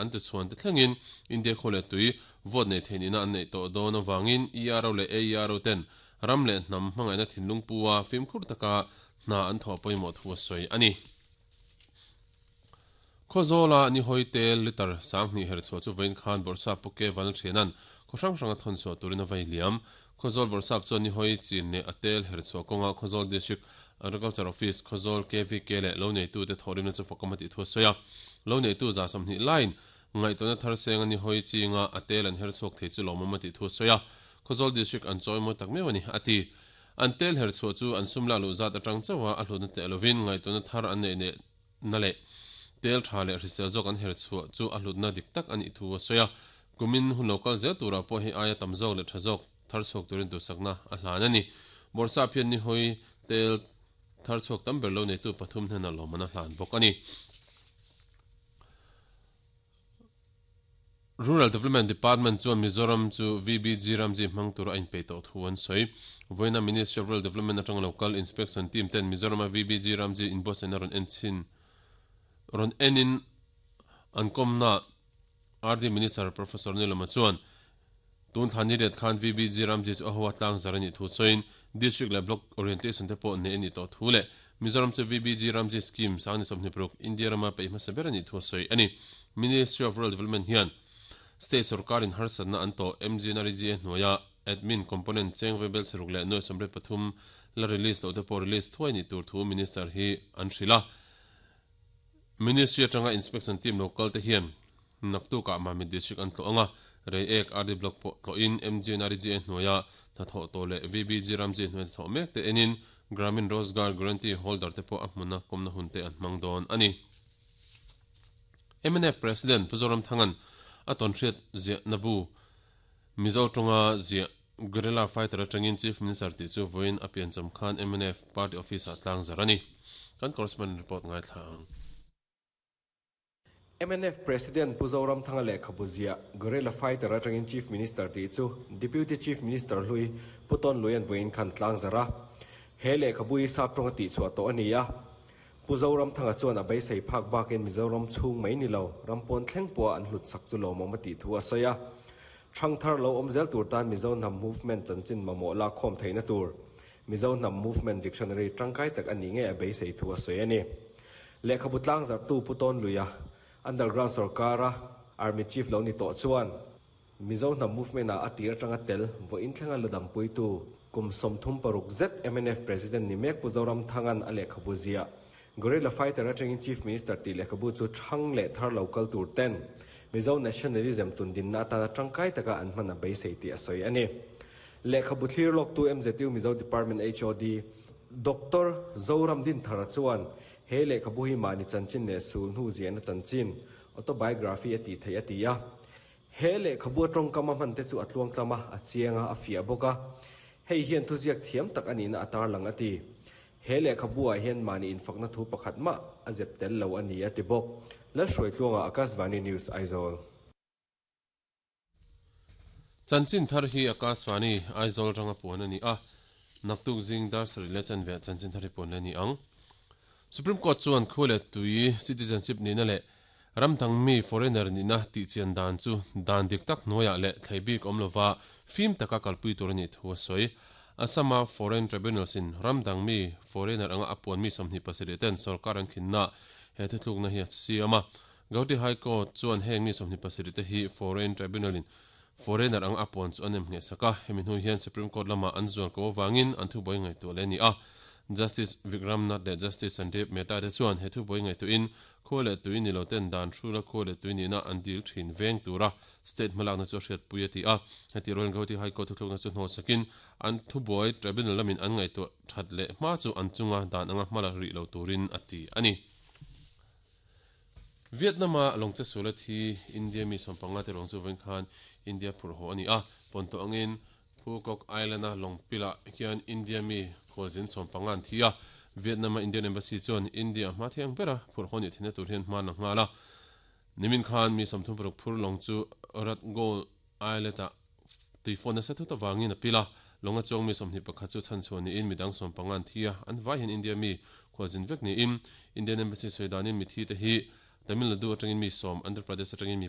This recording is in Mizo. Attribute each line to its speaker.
Speaker 1: An tuchhuan te thlengin India khaw leh tui vote nei thei nihna an neih tawh dawn avangin ERO leh AERO ten ram leh hnam hmangaihna thinlung pu a fimkhur taka hna an thawh pawimawh thu a sawi a ni. Khawzawla nihawi tel litre 2000 herchhuah chu vawiin khan Bawrhsap Pu Ke Vanlalthiana'n khaw hrang hranga thawnchhuah turin a vei liam. Khawzawl Bawrhsap chuan nihawi chin leh a tel herchhuah kawnga Khawzawl District Agriculture Office, Khawzawl KVK leh loneitute thawhrimna chu fakawm a tih thu a sawi a. Loneitu 20 laiin ngaihtuahna thar seng a nihawi chinga a tel an herchhuak thei chu lawmawm a tih thu a sawi a. Khawzawl District an chawimawi tak meuh a ni, a ti. An tel herchhuah chu an sum lak luh zat atang chauha a hlutna teh lovin ngaihtuahna thar an neih leh na leh tel tha leh hrisel zawk an herchhuah chu a hlutna dik tak a nih thu a sawi a. Kumin hun lo kal zel turah pawh hei aia tam zawk leh tha zawk thar chhuak turin duhsakna a hlan a ni. Bawrhsap hian nihawi tel thar chhuak tam ber lo neitu pathum hnenah lawmman a hlan bawk a ni. Rural Development Department chuan Mizoram chu VBG Ramji hmang tura a inpeih tawh thu an sawi. Vawiina Ministry of Rural Development atanga lo kal Inspection Team ten Mizorama VBG Ramji inbuatsaihna rawn en chhin rawn enin an kawmna RD Minister Professor Niloma chuan tun thla ni riat khan VBG Ramji chu a hoa tlang zar a nih thu sawiin District leh Block Orientation te pawh neih a nih tawh thu leh Mizoram chu VBG Ramji Scheme 2026 India rama peih hmasa ber a nih thu a sawi a ni. Ministry of Rural Development hian State sorkarin harsatna an tawh MGNREGA hnuaia Admin Component cheng vebel chheruk leh nuai 83 la release loh te pawh release thuai nih tur thu Minister hi an hrilh a. Ministry atanga Inspection Team lo kal te hian naktukah Mamit District an tlawh ang a, Reiek RD Block pawh tlawhin MGNREGA hnuaia hnathawh tawh leh VBG Ramji hnuaia hnathawh mek te enin Gramin Rozgar Guarantee Holder te pawh a hmuna kawmna hun te an hmang dawn a ni. Mnf President Pu Zoramthanga'n a tawnhriat ziahna bu Mizo tawnga ziah Guerrilla Fighter atangin Chief Minister tih chu vawiin a piancham khan mnf Party Office ah tlang zar a ni. Kan correspondent report ngaithla ang.
Speaker 2: Mnf President Pu Zoramthanga lehkhabu ziah Guerrilla Fighter atangin Chief Minister tih chu Deputy Chief Minister hlui Pu Tawn Luian vawiin khan tlang zar a. He lehkhabu hi sap tawnga tihchhuah tawh a ni a. Pu Zoramthanga chuan a beisei phak bakin Mizoram chhung mai ni lo, ram pawn thleng pawha an hlut sak chu lawmawm a tih thu a sawi a. Thangthar lo awm zel tur tan Mizo Hnam Movement chanchin mamawh lakkhawm theihna tur Mizo Hnam Movement Dictionary tangkai tak a nih ngei a beisei thu a sawi a ni. Lehkhabu tlangzarhtu Pu Tawn Luia, Underground sorkara Army Chief lo ni tawh chuan Mizo Hnam Movement-ah a tir atanga tel vawiin thlenga la dampuitu kum 36 zet mnf President ni mek Pu Zoramthanga'n a lehkhabu ziah Guerrilla Fighter atangin Chief Minister tih lehkhabu chu thang leh thar lo kal tur ten Mizo Nationalism tundinna atana tangkai taka an hman a beisei tih a sawi a ni. Lehkhabu thlir lawktu MZU Mizo Department HOD Doctor Zoram Dinthara chuan he lehkhabu hi mahni chanchin leh sul hnu ziahna chanchin, autobiography, a tih theih a ti a. He lehkhabu a tawngkam a hman te chu a tluangtlam a, a chiang a, a fiah bawk a. Hei hian thuziak thiam tak a nihna a tarlang a ti. He lehkhabu ah hian mahni infakna thu pakhat mah a zep tel lo a ni a ti bawk. Lalhruaitluanga Akashvani News Aizawl.
Speaker 1: Chanchin thar hi Akashvani Aizawl atanga puan a ni a, naktuk zing dar sarih leh chanve ah chanchin thar hi puan leh a ni ang. Supreme Court chuan khua leh tui citizenship nihna leh ram dang mi foreigner nihna tih chian dan chu dan dik tak hnuaiah leh thlei bik awm lova fim taka kalpui tur a nih thu a sawi. Assam-a Foreign Tribunals in ram dang mi foreigner anga a puan mi 27 ten sorkar an khinna he thuthlukna hi a siam a. Gauhati High Court chuan heng mi 27 te hi Foreign Tribunal in foreigner anga a puan chu a nem ngheh sak a, hemi hnu hian Supreme Court lamah an zual ko avangin an thubuai ngaihtuah leh a ni a. Justice Vikram Nath leh Justice Sandeep Mehta te chuan he thubuai ngaihtuahin khua leh tui ni lo ten dan hrula khua leh tui nihna an dil thin veng tura state hmalakna chu a hriatpui a ti a. Heti rualin Gauhati High Court thuthlukna chu hnawhsakin an thubuai Tribunal lamin an ngaihtuah that leh hma chu an chunga dan anga hmala rih lo turin a ti a ni. Vietnam-a lawngche suala thi India mi 15 te ruang chu vawiin khan India phurh haw a ni a, pawnto angin Phu Quoc Island-a lawng pilah hian India mi khualzin 15 an thi a, Vietnam-a Indian Embassy chuan India hma thiang bera phurh haw nih theihna tur hian hma an la nghal a. Nimin khan mi 36 phur lawng chu Rat Gold Islet-ah tuifawn nasa thut avangin a pil a, lawnga chuang mi 21 chu chhanchhuah niin midang 15 an thi a, an vai hian India mi khualzin vek niin Indian Embassy sawi danin mithi te hi Tamil Nadu atangin mi sawm, Andhra Pradesh atangin mi.